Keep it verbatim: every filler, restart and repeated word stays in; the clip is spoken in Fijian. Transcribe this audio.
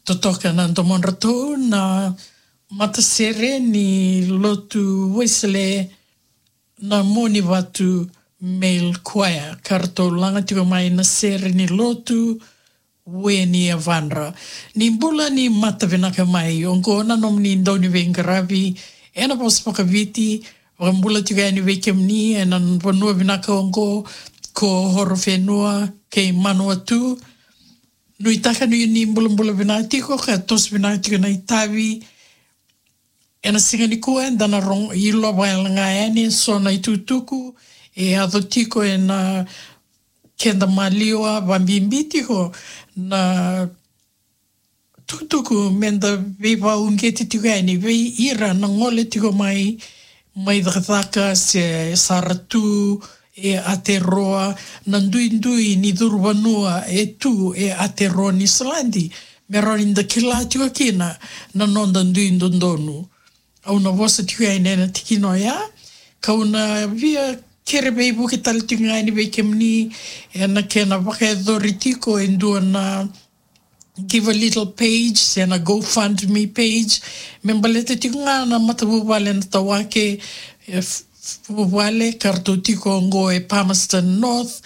totoka na domodratou na matasere ni lotu Wesele na Monivatu Male Choir, ka ratou laga tiko mai na sere ni lotu Weni Yavadra. Ni bula ni mata vinaka mai, oqo na nomuni dau ni veiqaravi ena vosa vakaviti, vakabula tiko yani vei kemuni ena vanua vinaka oqo ko Horowhenua kei Manawatu. Nuitaka ni ni bulabula vinaka tiko ka toso vinaka tiko na itavi. Ena siga nikua eda na rogo, ilova ga yani eso na itukutuku e yaco tiko ena keda maliwa, vabibi tiko na tukutuku meda veivauqeti tiko yani vei ira na gole tiko mai, mai cakacaka se sara tu e Aotearoa, na duidui ni curu vanua e tu e Aotearoa Niusiladi, me rawa ni da kila tiko kina na noda dui dodonu. Au na vosa tiko yani ena tikina oya, kau na via kere veivuke tale tiko ga yani vei kemuni ena kena vakayacori tiko e dua na Givealittle page se na GoFundMe page, me baleta tiko ga na matavuvale na Tawake, e, f-, f-, vuvale ka ratou tiko oqo e Palmerston North,